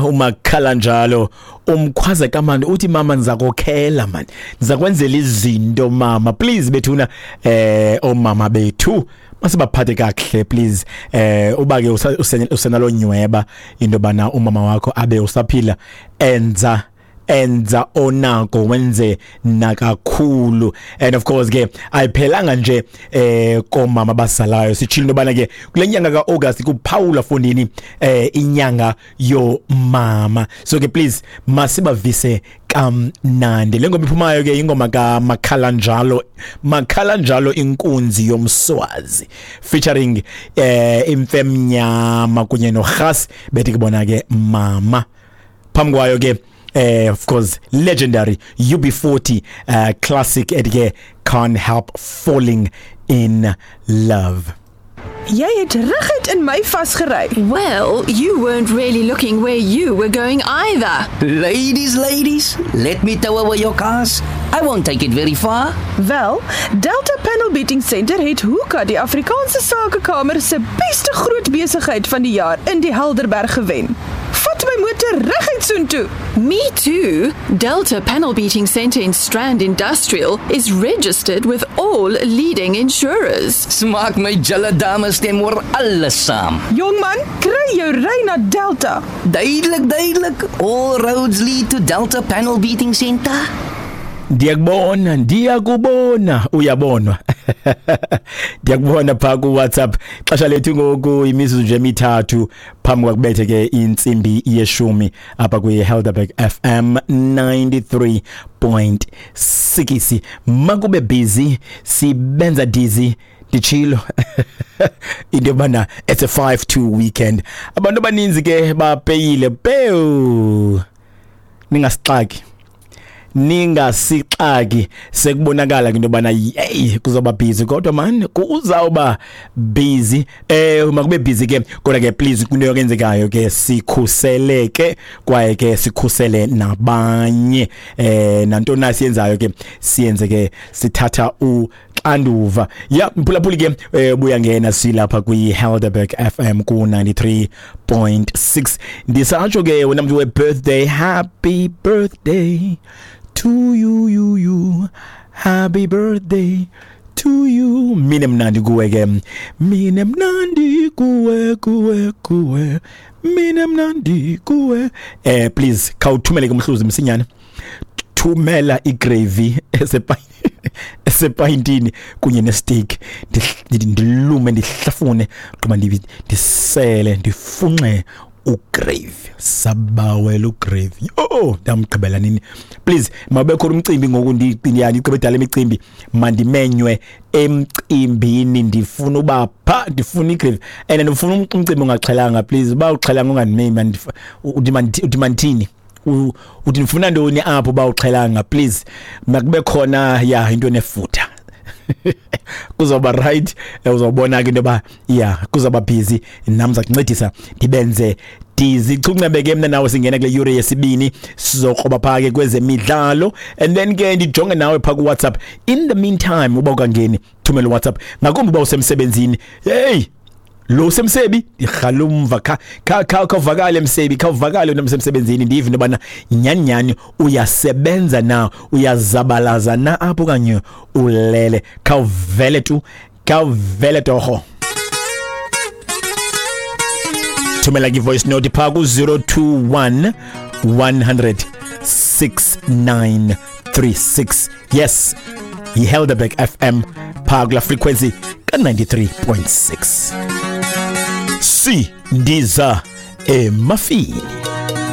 Umakhala njalo umkhwaza kamandi uthi mama ndizakokhela man, ndizakwenzela izinto mama, please bethuna. Omama bethu masibaphathe kakuhle please. Uba ke usenalo nyweba into bana umama wakho abe usaphila, enza onako wenze nakakhulu. And of course ke ayiphelanga nje komama basalayo, sitshilo into bana ke kule nyanga kaAugust kuphawula fondini inyanga yomama. So ke please masibavise kamnandi. Le ngoma iphumayo ke ingoma kaMakhala njalo, Makhala njalo inkunzi yomswazi featuring Imfemnyama kunye noRhas, bethi kubona ke mama. Phambi kwayo ke of course legendary UB40 classic ethi ke Can't Help Falling in Love. Jy het reguit in my vasgery. Well, you weren't really looking where you were going either. Ladies, ladies, let me tow away your cars. I won't take it very far. Wel, Delta Panel Beating Center het Hoeka die Afrikaanse Sakekamer se beste groot besigheid van die jaar in die Helderberg gewen. Vat my motor reguit soontoe. Me too. Delta Panel Beating Center in Strand Industrial is registered with all leading insurers. Smaak my julle dames stem oor alles saam. Jongman, kry jou ry na Delta. Duidelik, duidelik. All roads lead to Delta Panel Beating Center. Ndiyakubona, ndiyakubona, uyabonwa. Ndiyakubona pha ku WhatsApp. Xesha lethu ngoku imizuzu nje emithathu phambi kwakubethe ke intsimbi yeshumi apha kwi Helderberg FM 93.6. Makube busy, sibenza dizzy, nditshilo into yobana it's a 5-2 weekend. Abantu abaninzi ke bapeyile pew, ningasixaki, ningasixaki, sekubonakala into yobana hey kuzoba busy, kodwa man kuzawuba busy. Makube busy ke, kodwa ke please kunto yokwenzekayo ke sikhuseleke kwaye ke sikhusele nabanye. Nantoni na siyenzayo ke siyenze ke sithatha uxanduva. Ya mphulaphuli ke buya ngena silapha kwi Helderberg FM ku 93.6. Ndisatsho ke wena mntu we-birthday, happy birthday to you, you, you, happy birthday to you. Mine mnandi kuwe ke, mine mnandi kuwe, kuwe, kuwe, mine mnandi kuwe. Please khawuthumele ke umhluzi msinyane, thumela igravy esepayintini kunye nesteak, ndilume ndihlafune gqiba ndisele ndifunxe ugravy, sabawela ugravy. Oh, ndamgqibela nini? Please mabekho umcimbi ngoku, ndigqibe dala imicimbi, mandimenywe emcimbini, ndifuna uba pha, ndifuna igravy and ndifuna umcimbi ongaxhelanga. Please uba uxhelanga ungandimemi, uthi mandithini, uthi ndifuna ntoni apho uba uxhelanga? Please makube khona ya into enefutha, kuzoba right. Uzawubona ke into yoba ya kuzoba busy, nam ndiza kuncedisa ndibenze dizichuncebe ke mna nawe. Singena kule yure yesibini, sizokroba phaa ke kwezemidlalo and then ke ndijonge nawe phaa kuWhatsApp. In the meantime uba ukangeni thumela uWhatsApp, ngakumbi uba usemsebenzini. Hey lo semsebi ndirhalumva khawuvakale msebi, khawuvakale wena msemsebenzini, ndive into yobana nyhani nyhani uyasebenza na, uyazabalaza na apho okanye ulele. Khawuvele tu, khawuvele torho, thumela ke voice note phaa ku-021 100 6936. Yes, yiHelderberg FM phaa kula frequency ka-93.6. Si ndiza emafini.